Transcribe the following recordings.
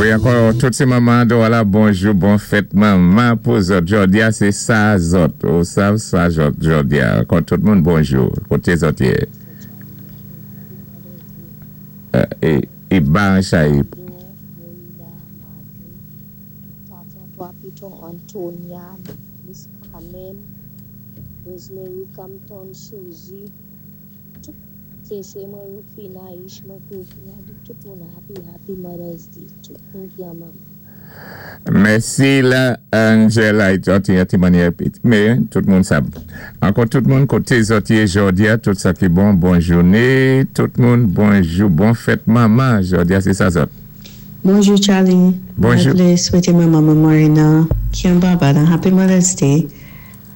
Wi, ankò tout sé manman dò la, bonjou, bon fèt manman pou zòt. Jòdi-a, sé sa zòt. Ou sav sa jòdi-a. Ankò tout moun bonjou. Koté zòt yé. É ba an chay. Tata Antonia, Miss Carmen, Rosemary Campton, Suzy, tout se mwen Rufina, Ishma, Rufina, tout moun happy, happy Mother's Day, tout moun ki an manman. Mèsi la Angela, yon ti mannyè, mé tout moun sab. Ankò tout moun koté zòt yé jòdi-a, tout sa ki bon, bon jouné, tout moun bonjou, bon fèt manman, jòdi-a sé sa zòt. Bonjou, Charlie. Bonjou. Mwen vlé swété manman mwen Morena ki an Barbade an Happy Mother's Day.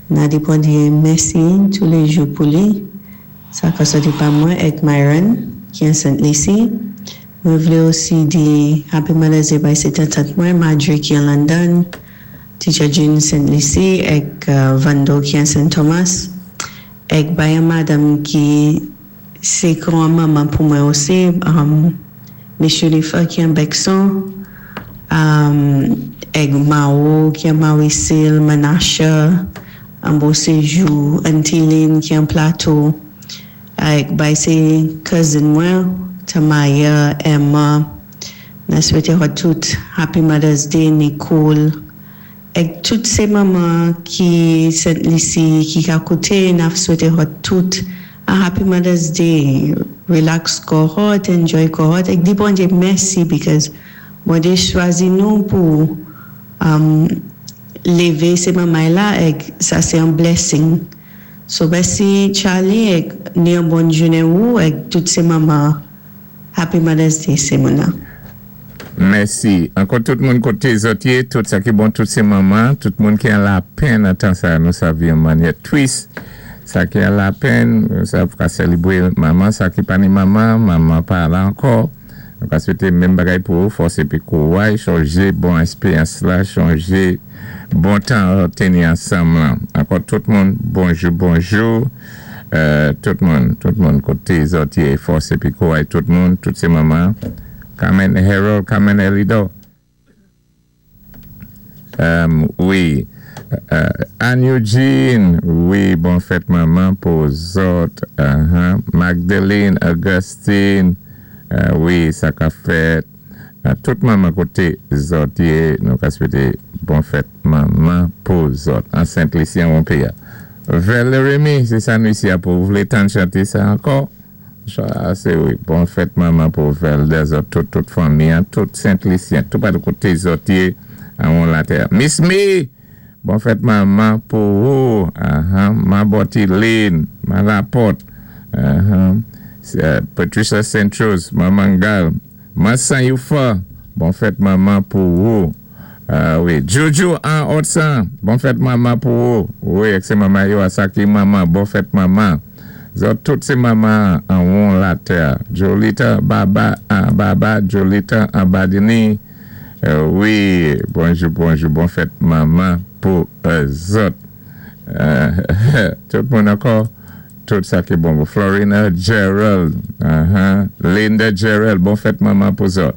Na di Bondyé mèsi touléjou pou li. Sa ka sòti pa mwen èk Myron ki an Saint Lucie. Mwen vlé osi di Happy Mother's Day bay sé tant mwen Marjorie ki an London, Teacher Jean Saint Lucie èk Vando ki an Saint Thomas. Èk bay an madanm ki sé kon an manman pou mwen osi, Monsieur Lefa ki an Bexon, èk Mao ki an Mauricil, Menasha, an Beauséjour, Antiline ki an Plateau, èk bay sé cousin mwen, Tamaya, Emma, na swété tout Happy Mother's Day, Nicole, èk tout sé manman ki Sent Lisi, ki ka kouté, n ap swété tout a Happy Mother's Day. Relax kò zòt, enjoy kò zòt, èk di Bondyé mèsi because Bondyé chwazi nou pou lévé sé manman la èk sa sé an blessing. So mèsi, Charlie, èk ni an bon jounen ou èk tout sé manman. Happy Mother's Day, sé moun nan. Mèsi. Ankò tout moun koté zòt yé, tout sa ki bon, tout sé manman, tout moun ki an lapenn an tan sa, nou sav yon mannyè twis. Sa ki an lapenn, nou sav ka sélébwé manman, sa ki pa ni manman, manman pa la ankò. Nou ka swété menm bagay pou ou, fòs épi kouway, chonjé bon èkspéryans la, chonjé bon tan téni ansanm lan. Ankò tout moun, bonjou, bonjou. Tout moun koté zòt yé, fòs épi kouway tout moun, tout sé manman. Carmen Harold, Carmen Elido. Wi. Anne Eugene, wi, bon fèt manman pou zòt. Magdalene, Augustine, wi, sa ka fèt. Tout manman koté zòt yé, nou ka swété bon fèt manman pou zòt. An Sent Lisi an Wonpeya. Valerie, sé sa nou isi a pou vlé tan chanté sa ankò. Sa, sé wi, bon fèt manman pou Velder zòt, tout fanmi, tout Sent Lisyen, tout patou koté zòt yé an won latè. Miss Me, bon fèt manman pou ou, ma Botiline, ma Laporte, Patricia Saint-Rose, maman Gal, ma San Yufa, bon fèt manman pou ou. Wi, Jojo an Otsan, bon fèt manman pou ou. Wi, èk sé manman yo asaki manman, bon fèt manman. Zòt tout sé manman an won latè. Jolita, Baba, Baba, Jolita, an Badini. Wi, bonjou, bonjou, bon fèt manman pou zòt. Tout moun ankò, tout sa ki bon. Florina Gerald, Linda Gerald, bon fèt manman pou zòt.